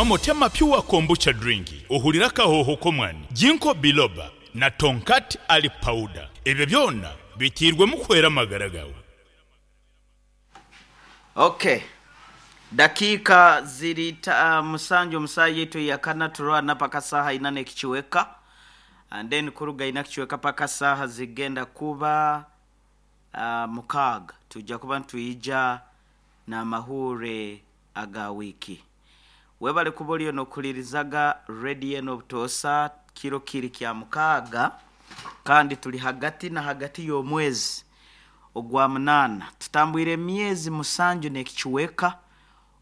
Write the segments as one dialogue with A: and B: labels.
A: Motema Pure Kombucha Drink, ohurire akahooho k'omwani, Ginkgo Biloba na Tongkat Ali Powder. Ebyo byona biteirwemu kuhwera amagara gaawe.
B: Ok. Dakiika ziri ta musanju omu saaha yaitu eyakana turwana paka saaha ina n'ekicweka and then kuruga ina kicweka paka saaha zigenda kuba mukaaga twija kuba nitwija n'amahuure aga wiiki. Webale kuba oriyo n'okuhuririzaga rediyo enu obutoosa kiro kiri kya mukaaga kandi turi hagati na hagati y'omwezi ogwa munaana. Tutambwire emyezi musanju n'ekicweka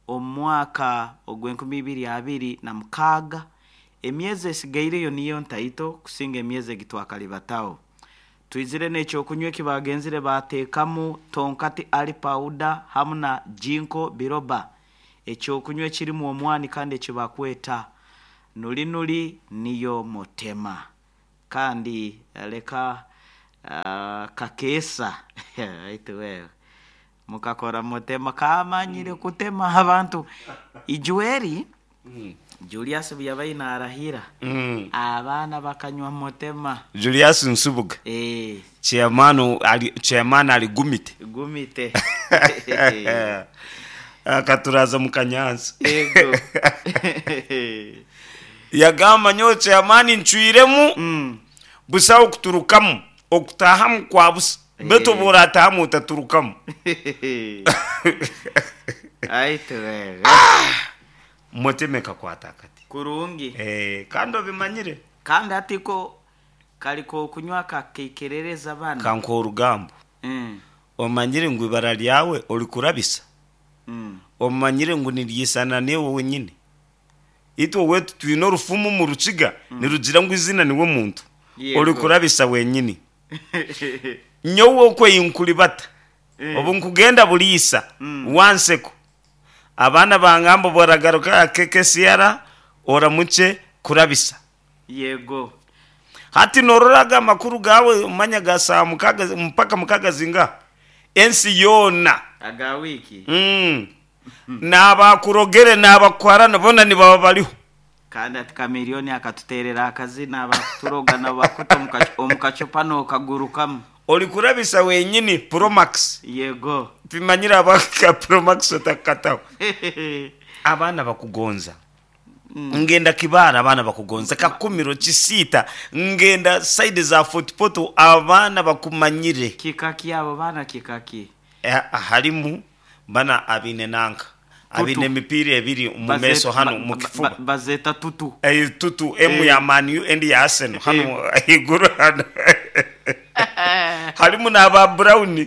B: omu mwaka ogw'enkumi ibiri 26. Emyezi esigaireyo niyo ntaito kusinga emyezi egi twakaribataho. Twizire n'ekyokunywa eki baagenzire baateekamu tonkati ali pawuda hamu na ginkgo biloba, ekyokunywa ekirimu omwani kandi eki bakweta nuli nuli niyo motema. Kandi leka kakeesa baitu wewe mukakora motema kaamanyire kutema abantu. Ijweri Julius obu yabaire naarahira, abaana bakanywa motema.
C: Julius Nsubuga, Chairman ali chairman ali Gumite.
B: Gumite.
C: Akaturaza mu kanyansi.
B: Ego.
C: Yagamba nyowe chairman ncwiremu busaho kuturukamu, okutahamu kwa busa. Beitu obu oratahamu otaturukamu.
B: Aitu wewe.
C: Motema ekakwata akati.
B: Kurungi.
C: Eh, kandi obimanyire.
B: Kandi hati ko kari k'okunywa kakaikerereza banu.
C: Kankuhe orugambo. Omanyire ngu ibara ryawe orikurabisa? Omanyire ngu niryisana naiwe wenyine? Itwe owaitu twine orufumu omu Rukiga nirugira ngu eiziina niwe muntu. Orikurabisa wenyini. Nyowe okwo ei nkuribata, obu nkugenda buriisa wanseko, abaana bangamba obu oragaruka aha KKCR oramukye kurabisa.
B: Yego.
C: Hati norora ago amakuru gaawe omanya ga saaha mukaga mpaka mukaga zingaha? Ensi yoona.
B: Aga wiiki.
C: N'abakurogere n'abakuharana boona nibaba bariho.
B: Kandi ati Chameleone akatuteerera akazina abakuturoga nabo bakuta omu kacupa nokagurukamu.
C: Orikurabisa wenyini Promax.
B: Yego.
C: Timanyire ahabwaki ka Promax otakukataho. Abaana bakugonza. Ngenda Kibaale abaana bakugonza, Kakumiro, Kisiita, ngenda side za Fort Portal abaana bakumanyire.
B: Kika ki abo baana kika ki?
C: Harimu bana abaine nanka, abaine emipiira ebiri omu meeso hanu omu kifuba.
B: Bazeeta tutu.
C: Tutu, emwe ya Man U endi ya Arsenal hanu ahaiguru hanu. Harimu n'aba Brown,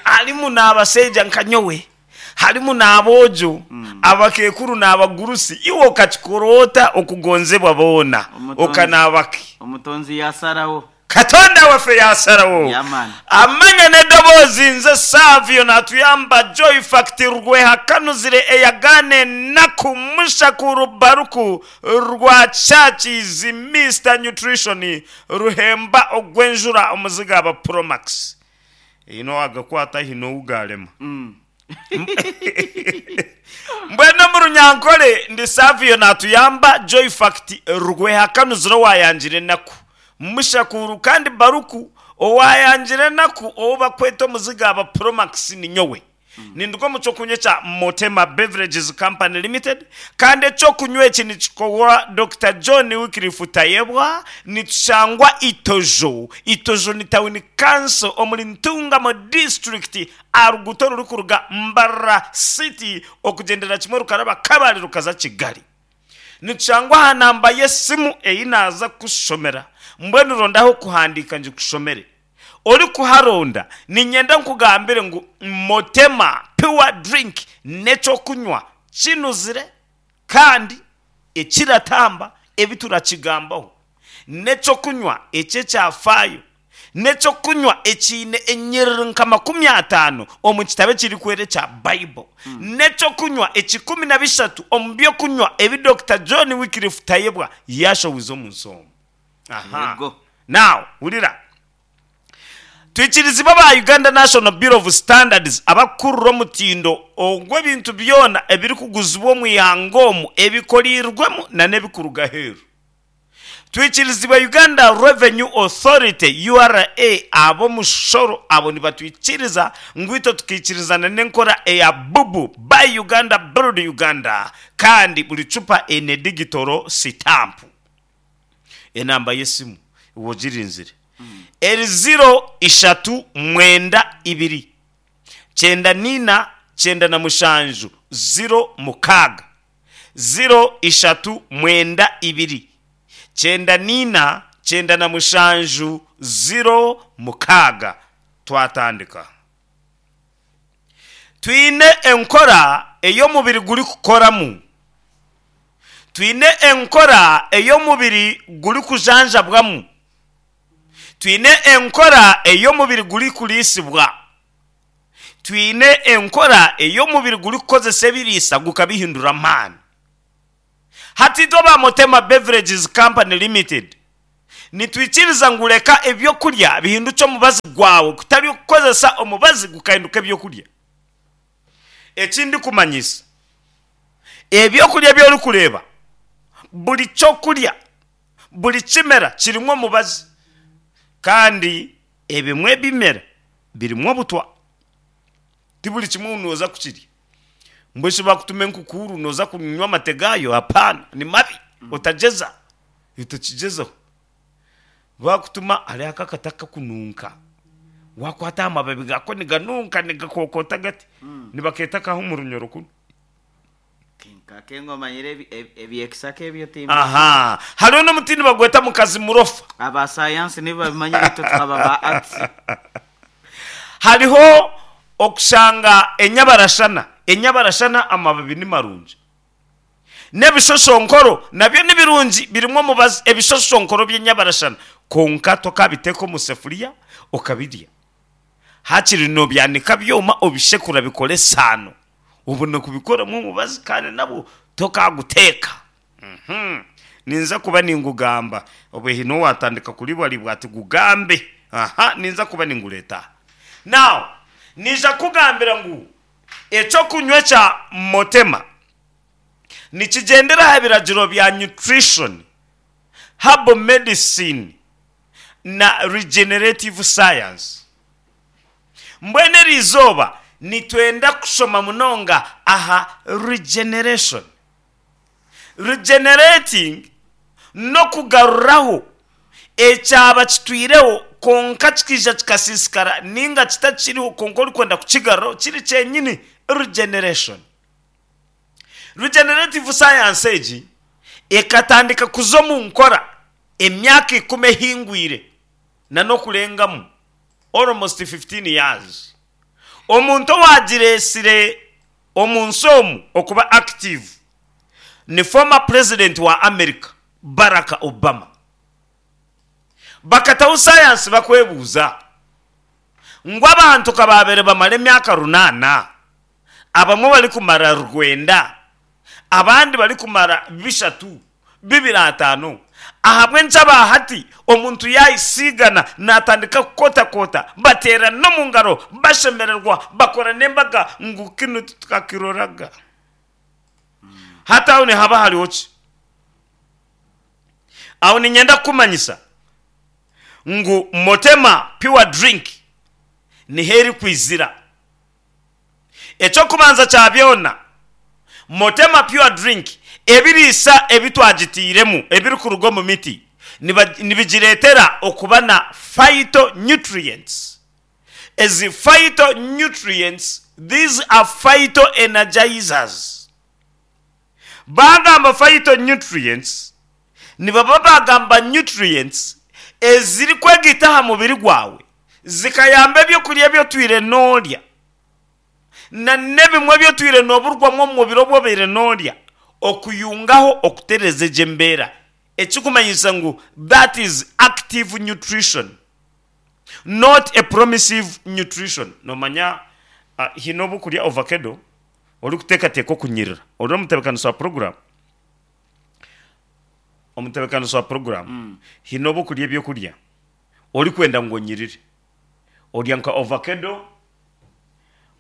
C: harimu n'abashaija nka nyowe, harimu n'aboojo, abakeekuru n'abagurusi. Iwe okakikora ota okugonzebwa boona, okanaaba ki?
B: Omutonzi yaasarawo.
C: Katonda waffe yaasalawo.
B: Yeah man.
C: Amanya n'edoboozi nze Savio natuyamba Joy Fact Rwehakanuzire eyagaana enaku Mushakuru Baruku rwa Churches Mister Nutrition Ruhemba ogw'enjura omuziga aba Promax Haine owagakwata haine ou garema Mbwenu omu Runyankore ndi Savio Natuyamba Joy Fact Rwehakanuzire owayangire enaku Mushakuru kandi Baruku owayangire enaku ou bakweta omuziga aba Promax ninyowe. Ninduga omu ky'okunywa ekya Motema Beverages Company Limited kandi eky'okunywa eki nikikorwa Dokita John Wycliffe Tayebwa. Nitushangwa Itojo. Itojo ni tawuni kanso omuri Ntungamo disiturikiti aha ruguuto orurikuruga Mbarara City okugyendera kimwe rukaraba Kabale rukaza Kigali. Nitushangwa aha namba y'esimu ei naaza kukushomera. Mbwenu ronda ah'okuhandiika ngikushomere. Orikuharonda, niinyenda nkugambire ngu Motema Pure Drink n'eky'okunywa kinuzire kandi ekiratamba ebi turakigambaho. N'eky'okunywa eky'ekyafaayo. N'eky'okunywa ekiine enyiriri nka 50 omu kitabo ekirikwera ekya Bible. N'eky'okunywa ekikumi na bishatu omu by'okunywa ebi Dokita John Wycliffe Tayebwa yaashowize omu nsi omu. Aha.
B: Yego.
C: Now, hurira. Twikirizibwe aba Uganda National Bureau of Standards abakukurura omutindo ogw'ebintu byona ebirikuguzibwa omu ihanga omu ebikoreirwemu na n'ebikuruga aheeru. Twikirizibwe Uganda Revenue Authority, URA, ab'omushoro abo nibatwikiriza ngu itwe tukaikirizana n'enkora eya BUBU, Buy Uganda Build Uganda, kandi buri cupa eine digitoro sitampu. Enamba y'esimu iwe ogirinzire eri ziro ishatu mwenda ibiri kyenda naina 97 06. Ziro ishatu mwenda ibiri 94 97 06. Twatandika. Twine enkora ei omubiri gurikukoramu. Twine enkora ei omubiri gurikujanjabwamu. Twine enkora ei omubiri gurikuriisibwa. Twine enkora ei omubiri gurikukozesa ebiriisa gukabihindura amaani. Hati itwe aba Motema Beverages Company Limited nitwikiriza ngu reka ebyokurya bihindukye omubazi gwawe kutari okukozesa omubazi gukahinduka ebyokurya. Eki ndikumanyisa, ebyokurya ebi orikureeba, buri kyokurya, buri kimera kirimu omubazi kandi ebimwe ebimera birimu obutwa. Ti buri kimwe ngu nooza kukirya. Mbwenu shi baakutuma enkukuuru nooza kunywa amate gaayo? Hapaana, ni mabi, otagyeza, otakigyezaho. Baakutuma hariho aka akati akakununka, waakwata aha mababi gaako niganunka nigakokoota gati, nibakeeta akaha omu runyoro kunu.
B: Nkake ngu omanyire eby'ekisaka ebyo timbizi.
C: Aha, hariho n'omuti nibagweta mukazi murofa.
B: Aba sayansi nibo babimanyire itwe tukaba ba arts.
C: Hariho okushanga enyabarashana, enyabarashana amababi ni marungi. N'ebishoshonkoro nabyo ni birungi birimu omubazi, ebishoshonkoro by'enyabarashana kwonka tokabiteeka omu sefuriya okabirya. Hakiri nobyanika byoma obishekura bikore esaano. Obone kubikoramu omubazi kandi nabwo tokaguteeka. Ninza kuba ningugamba. Obwe haine owaatandika kuribaribwa ati gugambe. Aha, ninza kuba ningureeta aha. Now, naija kukugambira ngu eky'okunywa kya Motema nikigyendera aha biragiro bya nutrition, herbal medicine na regenerative science. Mbwenu eri izooba nitwenda kushoma munonga aha regeneration. Regenerating n'okugaruraho ekyaba kitwireho kwonka kikaija kikasiisikara ninga kitakiriho kwonka orikwenda kukigaruraho kiri kyenyini, regeneration. Regenerative science egi ekatandika kuza omu nkora emyaka ikumi ehingwire nan'okurengamu. almost 15 years omuntu owagiresire omunsi omu okuba active ni former president wa America Barack Obama. Bakataho sayansi bakwebuuza ngu abantu kababere bamara emyaka runana abamwe barikumara rwenda abandi barikumara bishatu, bibiri ataano. Ahabw'enki aba hati omuntu yaayisiigana naatandika kukotakota, bateerana omu ngaro, bashemererwa, bakora n'embaga ngu kinu titukakiroraga. Hati aho nihaba hariho ki? Aho niinyenda kukumanyisa ngu Motema Pure Drink niho erikwizira. Eky'okubanza kya byona, Motema Pure Drink ebiriisa ebi twagitairemu ebirikuruga omu miti nibigireetera okuba na phytonutrients. Ezi phytonutrients, these are phytoenergizers. Baagamba phytonutrients, nibaba baagamba nutrients ezirikwegaita aha mubiri gwawe zikayamba ebyokurya ebi otwire noorya na n'ebimwe ebi otwire nooburwamu omu mubiri obu obaire noorya okuyungaho okutereeza egyo embeera ekikumanyisa ngu that is active nutrition not a promissive nutrition. Noomanya haine obu okurya ovakedo orikuteekateeka okunyirira ori omutebeekanisa wa puroguraamu omutebeekanisa wa puroguraamu haine obu okurya ebyokurya orikwenda ngu onyirire. Orya nka ovakedo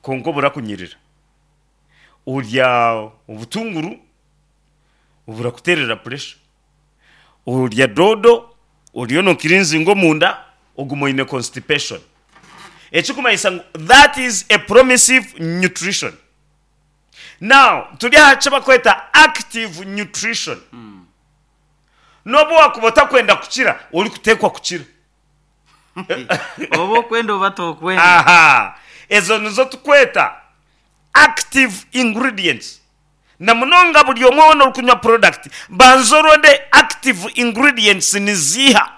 C: kwonka oburakunyirira. Orya obutunguru oburakuteerera puresha. Orya doodo oriyo nokirinzinga omunda oguma oine constipation. Ekikumanyisa ngu that is a promissive nutrition. Now turi aha kibakweta active nutrition. N'obu wakuba otakwenda kukira, orikuteekwa kukira.
B: Oba okwenda oba tokwenda.
C: Aha, ezo nizo tukweta active ingredients. Na munonga buri omwe weena orikunywa product, banza oronde active ingredients niziiha.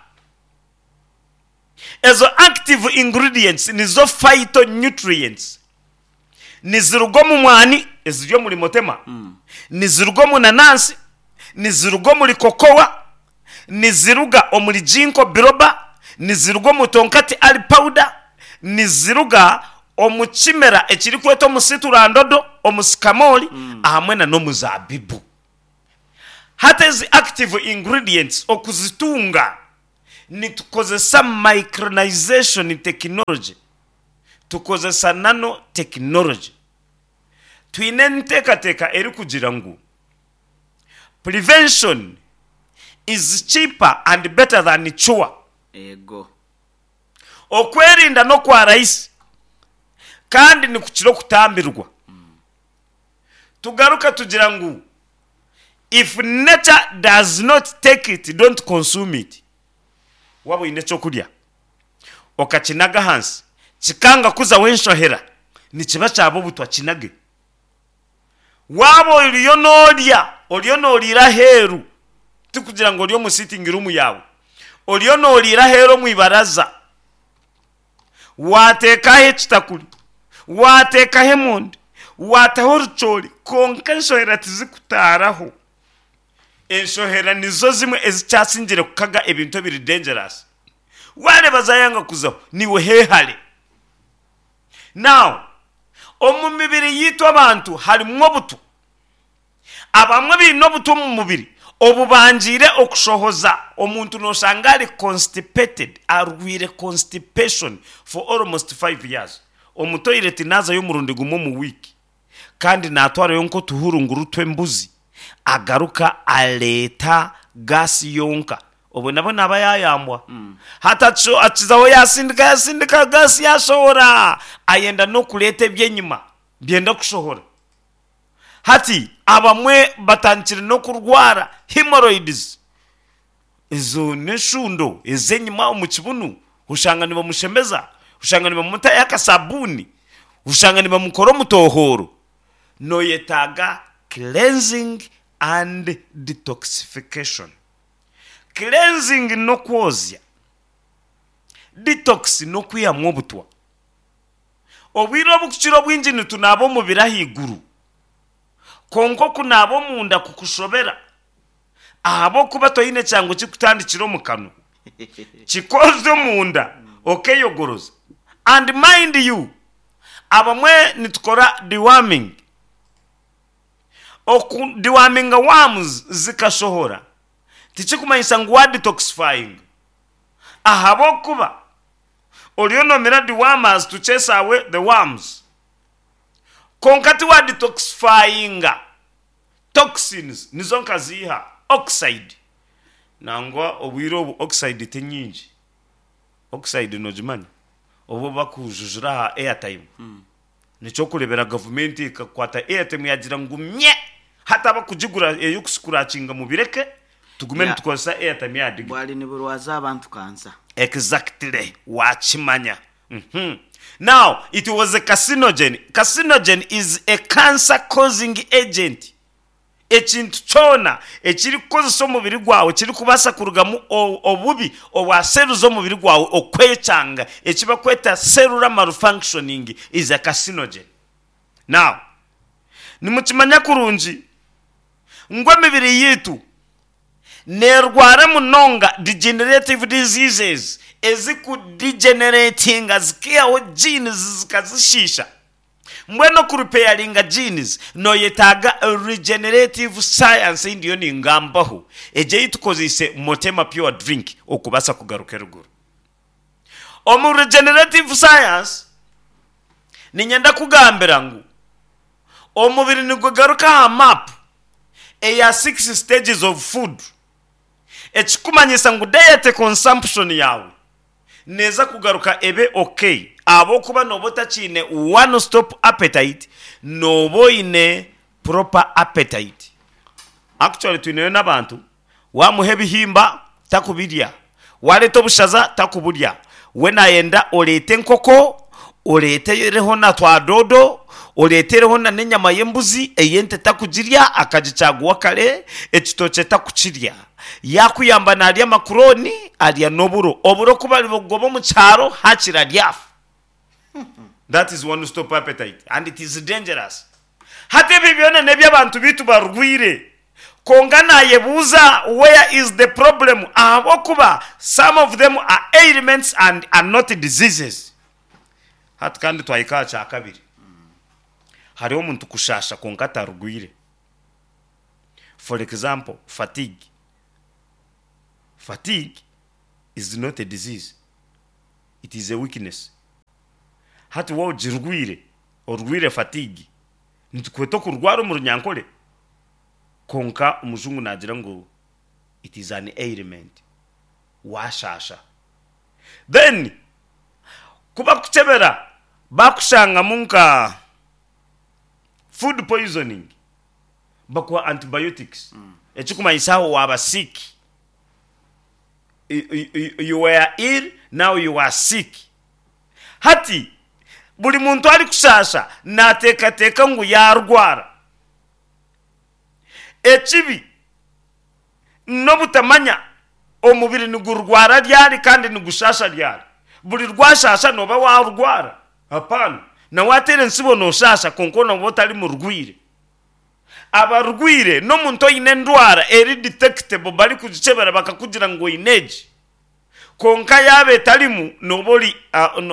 C: Ezo active ingredients nizo phytonutrients. Niziruga omu mwani eziri omuri motema, niziruga omu nanansi, niziruga omuri kokowa, niziruga omuri ginkgo biloba, niziruga omu tonkati ali powder, niziruga omu kimera ekirikwetwa omusiturandodo, omusikamoori ahamwe na n'omuzaabibu. Hati ezi active ingredients okuzitunga nitukozesa micronization technology. Tukozesa nano tekinologye. Twine enteekateeka erikugira ngu Prevention is cheaper and better than cure.
B: Eego.
C: Okwerinda n'okwa rahisi kandi nikukira okutambirwa. Tugaruka tugira ngu If nature does not take it, don't consume it. Waaba oine eky'okurya okakinaga ahansi kikanga kuzaho enshohera, nikiba kyaba obutwa kinage. Waaba oriyo noorya, oriyo nooriira aheeru, tikugira ngu ori omu sitting room yaawe, oriyo nooriira aheeru omu ibaraza, waateekaho ekitakuri, waateekaho emondi, waataho orucoori, kwonka enshohera tizikutaaraho. Enshohera nizo zimwe ezikyasingire kukaga ebintu ebiri dangerous. Wareeba zayanga kuzaho, niiwe hehare. Now, omu mibiri yaitu abantu harimu obutwa. Abamwe baine obutwa omu mubiri obubangiire okushohoza. Omuntu noshanga ari constipated, arwaire constipation for almost 5 years. Omu toilet nazayo omurundi gumwe omu week. Kandi naatwarayo nk'otuhurunguru tw'embuzi, agaruka areeta gaasi yonka. Obwo nabwo naaba yaayambwa. Hati akizaho yaasindika yaasindika gaasi yaashohora, ayenda n'okureeta eby'enyima byenda kushohora. Hati abamwe batandikire n'okurwara hemorrhoids. Ezo n'enshundo ez'enyima omu kibunu, oshanga nibamushemeza, oshanga nibamutayo akasabuuni, oshanga nibamukora omutohooro. Noyetaaga cleansing and detoxification. Cleansing n'okwozya, detox n'okwihamu obutwa. Obwire obukukira obwingi nitunaaba omubiri ahaiguru, kwonka okunaaba omunda kukushobera. Ahabw'okuba toine kyangu kikutandikira omu kanwa, kikoze omunda okeyogoroza. And mind you, abamwe nitukora deworming. Oku deworminga worms zikashohora tikikumanyisa ngu wa detoxifyinga. Ahabw'okuba oriyo nomira dewormers to chase away the worms, kwonka tiwa detoxifyinga. Toxins nizo nkaziiha oxide. Nangwa obwire obu oxide ti nyingi. Oxide nogimanya? Obu bakujujura aha airtime. Nikyokurebera gavumenti ekakwata airtime yagira ngu mye! Hati abakugigura eyokusikurakinga mubireke tugume nitukozesa airtime ya digital.
B: Bwari niburwaza abantu kansa.
C: Exactly wakimanya. Now it was a carcinogen, carcinogen is a cancer causing agent, ekintu kyona ekirikukozesa omubiri gwawe kirikubaasa kurugamu obubi obwa cells z'omubiri gwawe okwekyanga ekibakweta cellular malfunctioning is a carcinogen. Now nimukimanya kurungi ngu emibiri yaitu Neerwara munonga degenerative diseases eziku degeneratinga zikaihaho genes zikazishiisha. Mbwenu oku repairinga genes noyetaaga regenerative science ei ndiyo ningambaho egyo ei tukozeise Motema Pure Drink okubaasa kugaruka eruguru. Omu regenerative science, niinyenda kukugambira ngu omubiri nigugaruka aha map eya six stages of food, ekirikumanyisa ngu diet consumption yaawe neeza kugaruka ebe ok ahabw'okuba nooba otakiine one stop appetite, nooba oine proper appetite. Actually twineyo n'abantu Waamuha ebihimba, takubirya. Waareeta obushaza, takuburya. We naayenda oreete enkoko, oreetereho na twa doodo, oreetereho na n'enyama y'embuzi, ey'ente takugirya, akagikyaguwa kare, ekitookye takukirya. Yaakuyamba naarya makurooni, arya n'oburo. Oburo ku baribugoba omu kyaro, haakiri aryafa. That is one stop appetite and it is dangerous. Hati ebi byona n'eby'abantu baitu barwaire. Kwonka naayebuuza where is the problem ahabw'okuba some of them are ailments and are not diseases. Hati kandi twahika aha kyakabiri. Hariho omuntu kushaasha kwonka atarwaire. For example, fatigue. Fatigue is not a disease. It is a weakness. Hati waaba ogirwaire, orwaire fatigue, nitukweta okurwara omu runyankore, kwonka omujungu naagira ngu it is an ailment, waashaasha. Then ku bakukyebera baakushangamu nka food poisoning, bakuha antibiotics, ekirikumanyisa aho waaba sick. You were ill, now you are sick. Hati buri muntu arikushaasha naateekateeka ngu yaarwara. Ekibi n'obutamanya omubiri nigurwara ryari kandi nigushaasha ryari. Buri rwashaasha nooba waarwara? Hapana. Na waateera entsibo nooshaasha kwonka nooba otari murwaire. Abarwaire n'omuntu oine endwara eri detectable barikugikyebera bakakugira ngu oine egi. Kwonka yaaba etarimu nooba ori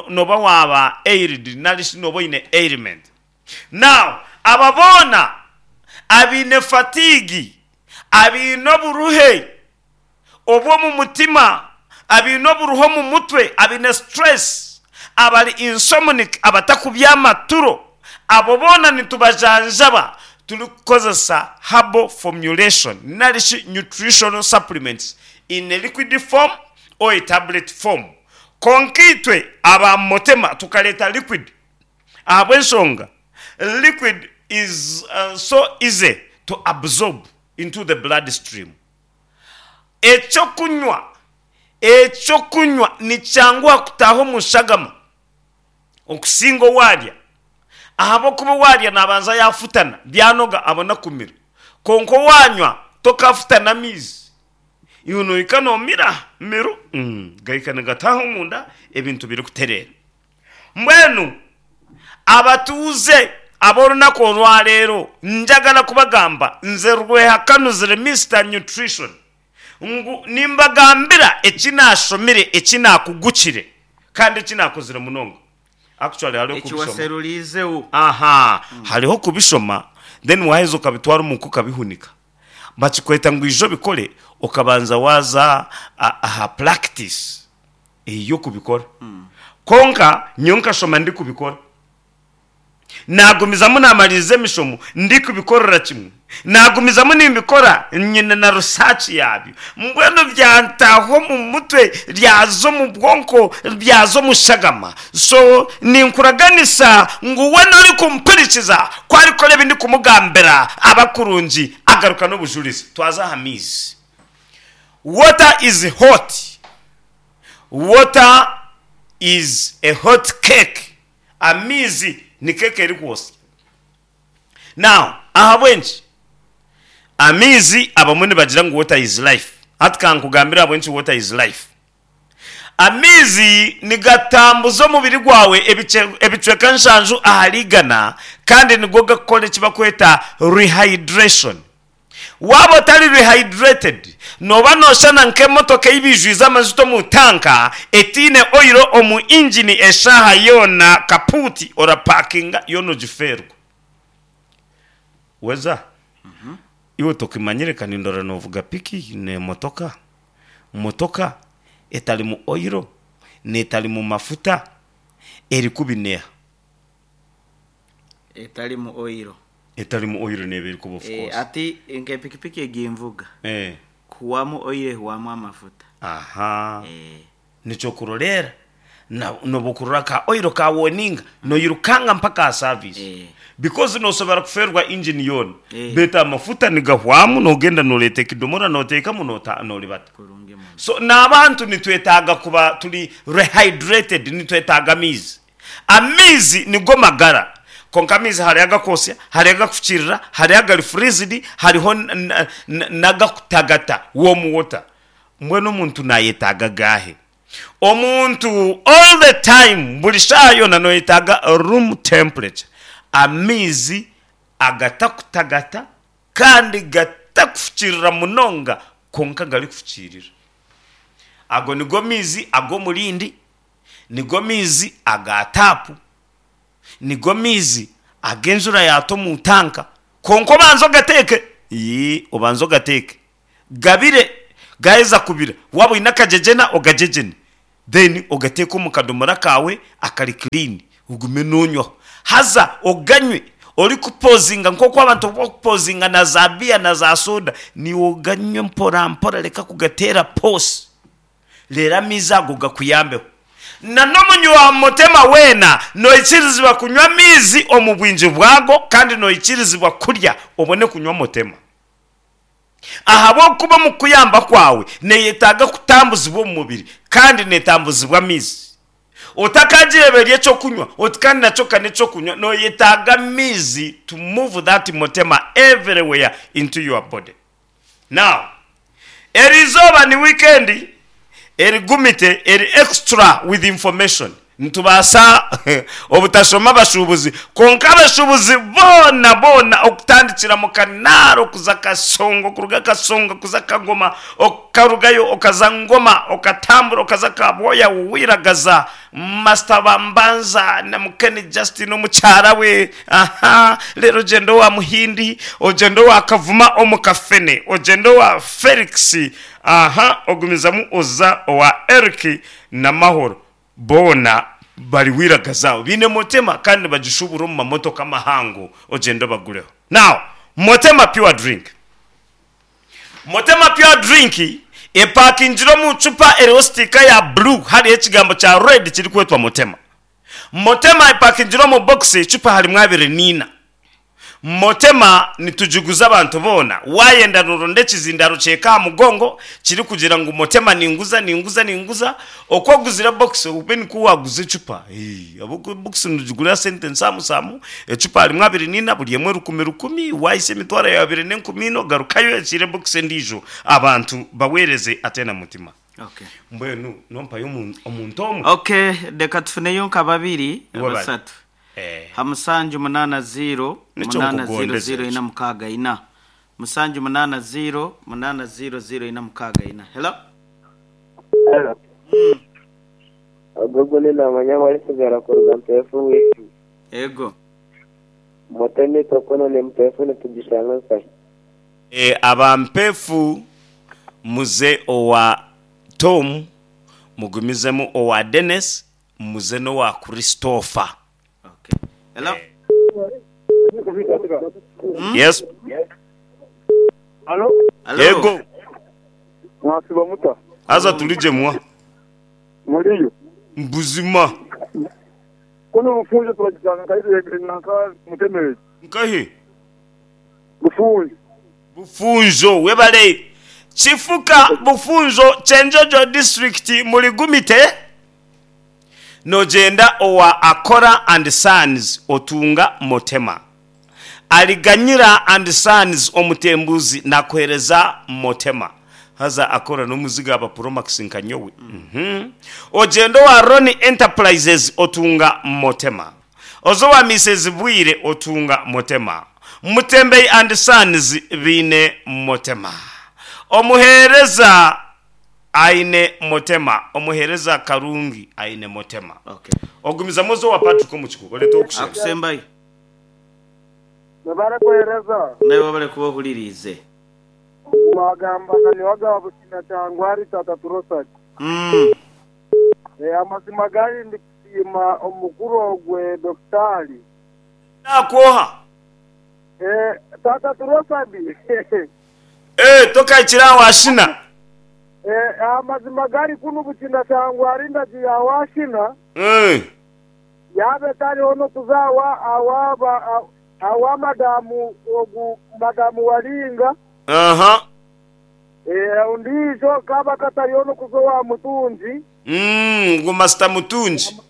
C: nooba waaba ailed nari shi nooba oine ailment. Now aba boona abaine fatigue, abaine oburuhe obw'omu mutima, abaine oburuhe omu mutwe, abaine stress, abari insomnic, abatakubyama turo, abo boona nitubajanjaba turikukozesa herbal formulation nari shi nutritional supplements in a liquid form or a tablet form. Kwonka itwe aba Motema tukareeta liquid ahabw'enshonga liquid is so easy to absorb into the blood stream. Eky'okunywa, Eky'okunywa nikyanguha kutaaha omu shagama okusinga owaarya ahabw'okuba owaarya naabanza yaafutana byanoga abona kumira. Kwonka owaanywa tokaafutana amaizi, iwe nohika noomira miru gahika nigataaha omunda ebintu birikutereera. Mbwenu abatuuze ab'orunaku orwareero njagala kubagamba nze Rwehakanuzire Mister Nutrition ngu nimbagambira eki naashomire, eki naakugukire kandi eki naakozire munonga. Actually hariho
B: Eki
C: kubishoma.
B: waseruriizeho.
C: Aha, hariho kubishoma then waaheza okabitwara omuka okabihunika. Bakikweta ngu ija obikore okabanza waaza aha practice ey'okubikora. Kwonka nyowe nkashoma ndikubikora. Naagumizamu naamariiriza emishomo ndikubikorera kimwe. Naagumizamu nimbikora nyine na research yaabyo. Mbwenu byantaaha omu mutwe, byaza omu bwonko, byaza omu shagama. So ninkuraganisa ngu weena orikumpurikiza ku arikora ebi ndikumugambira aba kurungi agaruka n'obujurizi. Twaza aha maizi. Water is hot. Water is a hot cake. Amaizi ni keeka erikwotsya. Now, ahabw'enki amaizi abamwe nibagira ngu water is life? Hati ka nkugambire ahabw'enki water is life. Amaizi nigatambuza omubiri gwawe ebicweka nshanju ahari igana kandi nigo gakukora eki barikweta rehydration. Waaba otari rehydrated, nooba nooshushana nk'emotoka ei baijwize amajuta omu tanka etaine oil omu ingini eshaaha yoona kapuuti orapakinga yoona ogifeerwa. Weza, iwe tokimanyire ka nindora noovuga piki n'emotoka. Motoka etarimu oil, n'etarimu mafuta eri kubi n'eha?
B: Etarimu oiro.
C: Etarimu oiro neeba eri kubi of course.
B: Ati nk'epikipiki egi nvuga, kuhwamu oiro ehwamu amafuta.
C: Aha. Nikyokuroreera na nobu okurora ka oil ka warninga noyirukanga mpaka aha service because nosobora kufeerwa engine yoona beitu amafuta nigahwamu nogenda noreeta ekidomora notekamu nota noribata so n'abantu nitwetaaga kuba turi rehydrated nitwetaaga amaizi amaizi nigo magara kwonka amaizi hariho agakwosya hariho agakufukirira hariho agari freezed hariho n'agakutagata warm water Mbwenu omuntu nayetaaga gaahe? Omuntu all the time buri shaaha yoona noyetaaga room temperature, amaizi agatakutagata kandi gatakufukirira munonga kwonka garikufukirira. Ago nigo maizi ag'omurindi, nigo maizi aga taapu, Nigo maizi ag'enjura yaata omu tanka. Kwonka obanze ogateeke. Ii, obanze ogateeke. Gabire. Gaaheza kubira, waaba oine akagyegyena ogagyegyene. Then ogateeke omu kadomora kaawe akari clean, ogume noonywaho. Haza oganywe orikupozinga nk'oku abantu obu barikupozinga na za biya na za soda, naiwe oganywe mpora mpora reka kugateera poosi. Reero amaizi ago gakuyambeho. Na n'omunywi wa mutema weena, noikirizibwa kunywa amaizi omu bwingi bwago, kandi noikirizibwa kurya obone kunywa mutema. Ahabw'okuba omu kukuyamba kwawe neyetaaga kutambuzibwa omu mubiri, kandi netambuzibwa amaizi. Otakagireeba eri eky'okunywa oti kandi nakyo ka n'eky'okunywa, noyetaaga amaizi to move that mutema everywhere into your body. Now, eri izooba ni weekend erigumite, eri extra with information. Nitubaasa obutashoma abashuubuzi, kwonka abashuubuzi boona boona okutandikira mu Kanaaro kuza Kasongo, kuruga Kasongo kuza Kagoma, okarugayo okaza Ngoma, okatambura okaza Kabwoya, Wiragaza, Master Bambanza na Mukeni Justin omukyara we, aha, reero ogyende owa Muhindi, ogyende owa Kavuma omu Kafene, ogyende owa Felix, aha, ogumizamu oza owa Eric na Mahoro, boona bari Wiragaza aho, baine Motema kandi nibagishubura omu mamotoka mahango, ogyende obagureho. Now, Motema Pure Drink. Motema Pure Drink epakingire omu cupa eriho sitiika ya blue hariho ekigambo kya red kirikwetwa Motema. Motema epakingire omu bokisi ecupa harimu 24. Motema nitugiguza abantu boona, wayenda noronda ekizindaaro kyeka aha mugongo kirikugira ngu Motema ninguza, ninguza, ninguza, oku oguzire bokisi obe nikwo waguza ecupa. Ahabw'okuba ebokisi nogigurira sente nsaamusaamu, ecupa harimu 24 buri emwe rukumi rukumi, waahitsya emitwaro yaawe abiri n'enkumi ina ogarukayo oyakiire ebokisi endiijo abantu baweereze ate na mutima.
B: Okay.
C: Mbwenu nompayo omuntu omwe?
B: Okay, reka tufuneyo nka babiri,
C: Iwe bari.
B: basatu.
C: Eh.
B: Ha musanju munaana ziiro,
C: Nikyo
B: munaana ziiro
C: nkugondeza
B: ziiro
C: ekyo.
B: ina mukaaga ina. Musanju munaana ziiro, munaana ziiro ziiro ina mukaaga ina. Hello?
D: Hello. Ogu ogu ninamanya ngu arisigara kuruga Mpeefu wiiki.
B: Ego.
D: Mutemi itwe kunu ni Mpeefu nitugishanga nkahi?
C: Aba Mpeefu muze owa Tom, mugumizemu owa Dennis, muze n'owa Christopher.
B: Okay. Hello?
C: Yes.
E: Halo?
B: Hello?
C: Yego.
E: Mwasiba muta?
C: Haza turi gye mwa.
E: Muriyo?
C: Buzima.
E: Kunu Bufunjo turagisanga nka nanka Mutemeri.
C: Nkahi?
E: Bufunjo.
C: Bufunjo webale. Kifuka Bufunjo Kyenjojo district muri Gumite. Nogyenda owa Akora and Sons otunga Motema. Aliganyira and Sons omutembuzi nakuhereza Motema. Haza Akora n'omuziga aba Promax nka nyowe. Ogyenda owa Ronnie Enterprises otunga Motema. Oza owa Mises Bwire otunga Motema. Mutembei and Sons baine Motema. Omuheereza aine Motema. Omuheereza Karungi aine Motema.
B: Okay.
C: Ogumizamu oze owa Patrick Omukikugu orete ow'okushemba.
B: Akusembayo.
E: Webare kuhereza.
B: Naiwe webare kuba ohuririize.
E: Ogu wagamba na niwe agaba Busina Kyangwari Tata Turosati. Amazima gari ndikusiima omukuru ogwe Dokitaali.
C: Naakwoha.
E: Taata Turosabi.
C: Tokahikire aha Washina?
E: Amazima gari kunu Bukina Shangwa ari ndagi ya Washina. Yaaba etariho n'okuza awa madamu ogu madamu Walinga. Ondiijo kaaba katariho n'okuza owa Mutungi.
C: Ngu Masita Mutungi.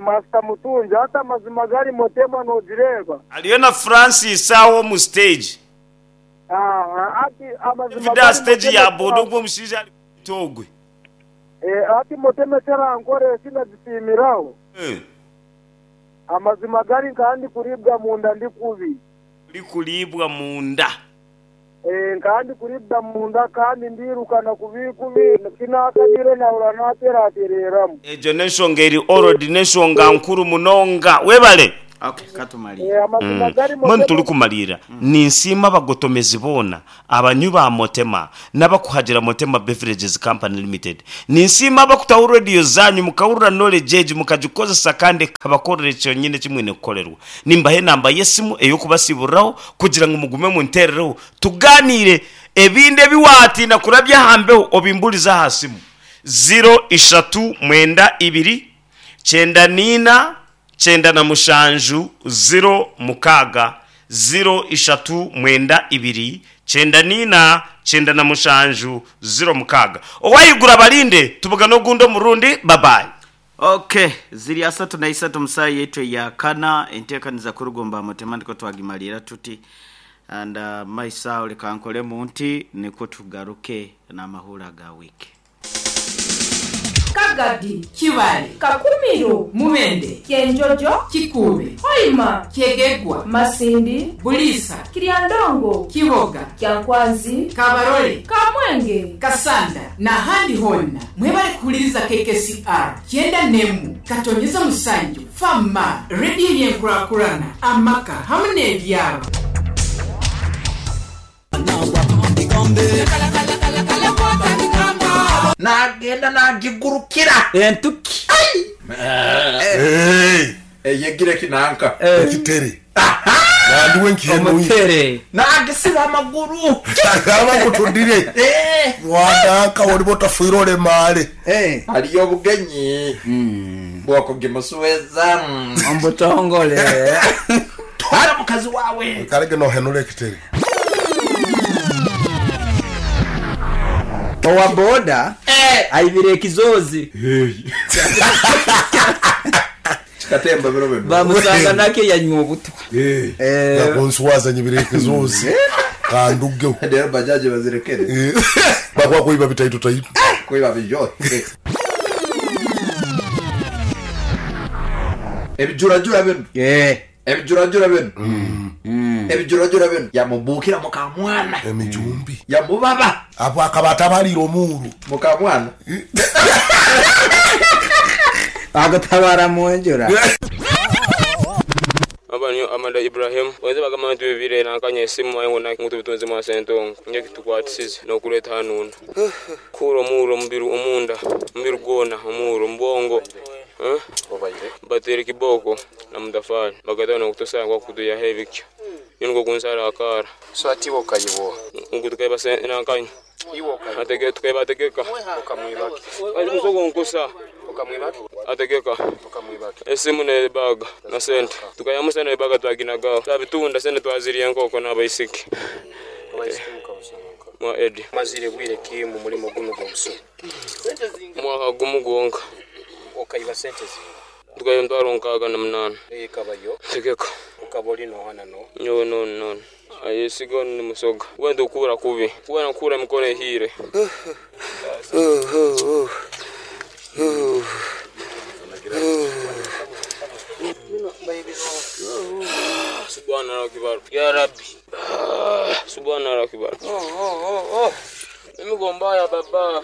E: Masita Mutungi. Hati amazima gari Motema nogireeba.
C: Hariyo na Francis aho omu siteegi.
E: Hati amazima
C: David aha
E: gari
C: siteegi
E: Motema
C: ya boda ogwo omushaija ari kwita ogwe.
E: Hati Motema eki arankora eki nagisiimiraho. Amazima gari nkaba ndikuribwa munda ndi kubi.
C: Orikuriibwa munda.
E: Nkaba ndikuribwa munda kandi ndiirukana kubi kubi, ku naakanyire naahurira naateratereeramu.
C: Egyo n'enshonga eri already n'enshonga nkuru munonga. Webale.
B: Okay, katumalire.
E: Amazima gari
C: Mbwenu
E: Motema.
C: turikumalirira, ninsiima abagotomezi boona, abanywi ba Motema n'abakuhagira Motema Beverages Company Limited. Ninsiima abakutaho rediyo zaanyu mukahurira knowledge egi mukagikozesa kandi ekabakorera kyonyini eki mwine kukorerwa. Nimbaha enamba y'esimu ey'okubasiiburiraho kugira ngu mugume munteerereho tugaaniire. Ebindi ebi waatiina kurabya aha mbeho obimburize aha simu, ziro ishatu mwenda ibiri, kyenda na ina, 97, ziro mukaaga, ziro ishatu mwenda ibiri, 94, 97, ziro mukaaga. Owaiguru abarinde, tubugane ogundi omurundi. Babayi.
B: Ok, ziri 31 omu saaha yaitu eya kana, enteekaniza kuruga omu ba Mutema nikwo twagimariira tuti and maiso aho leka nkoremu nti nikwo tugaruke n'amahuura aga wiiki.
F: Kagadi,
G: Kibaale,
F: Kakumiro,
G: Mubende,
F: Kyenjojo,
G: Kikuube,
F: Hoima,
G: Kyegegwa,
F: Masindi,
G: Buliisa,
F: Kiryandongo,
G: Kiboga,
F: Kyankwanzi,
G: Kabarole,
F: Kamwenge,
G: Kasanda n'ahandi hoona. Mwebale kuhuliriza KKCR kyenda n'emu katonyeza musanju Fama, rediyo y'enkurakurana, amaka hamu n'ebyaro.
H: Naagenda naagigurukira.
I: Entuki.
H: Ai! Eyegire kinanka.
J: Ekitere. Nandiwe nkihenuye.
I: Omutere.
H: Naagisiba amaguru.
J: Agamba nkutundire. Wananka oliba otafiire olemaale.
H: Hariyo obugenyi bw'okugimusueza.
I: Omu butongole.
H: Twara mukazi waawe.
J: Oikarege nohenura ekitere.
I: Owa boda aibire ekizoozi.
H: Kikatemba biro bino.
I: Bamusanga nakyo yanywa obutwa.
J: Nakunswaza nyibire ekizoozi. Kandugeho.
H: Rero bajaji bazirekere.
J: Bakwa kuiba bitaito taito.
H: Kuiba bijote. Ebijurajura bino. Ebijurajura bino. Ebijurajura bino. Yamubukira mukamwana.
J: Emijumbi.
H: Yamubaba.
J: Apo akaba atabalira omuuru.
H: Mukamwana.
I: Agutabara munjura.
K: Aba niyo Amanda Ibrahim wenze bagamba nti bibire nankanya esimu aye ngu ngu tubitunze mwa sentongo nje kitukwatisize nokuleeta hanuuna kuura omuuro omubiri omunda omubiri gwona omuuro omubwongo bateire kiboko na mutafari bagataho nokutusanga kwakutuyaho ebikyo nyo nikwo kunsara akaara.
L: So ati iwe okayiboha?
K: Ngu tukaiba nankanya
L: Iwe okayiba?
K: Atege tukaiba ategeka.
L: Okamwibaki?
K: Musogo nkusa.
L: Okamwibaki?
K: Ategeka.
L: Okamwibaki?
K: Esimu n'ebaga na sente. Tukayamu sente n'ebaga twaginagaho. Twabitunda sente twazirya enkoko n'abaisiki.
L: Abaisiki mukabasanga nka?
K: Mwa Eddie.
L: Mazire bwire ki mu mulimo gunu gw'obusuma?
K: Mwaka gumu gwonka.
L: Okayiba sente zinga?
K: Tukaiba 608.
L: Ekabayo?
K: Tegeka.
L: Okaba ori noha na noha?
K: Nyowe nonu nonu. Ayesiga onu ni musoga. Wenda okuura kubi. Kuba nkuura emikono ehiire. Subhana akibar. Ya Rabbi. Subhana akibar. Mimi gombaya baba.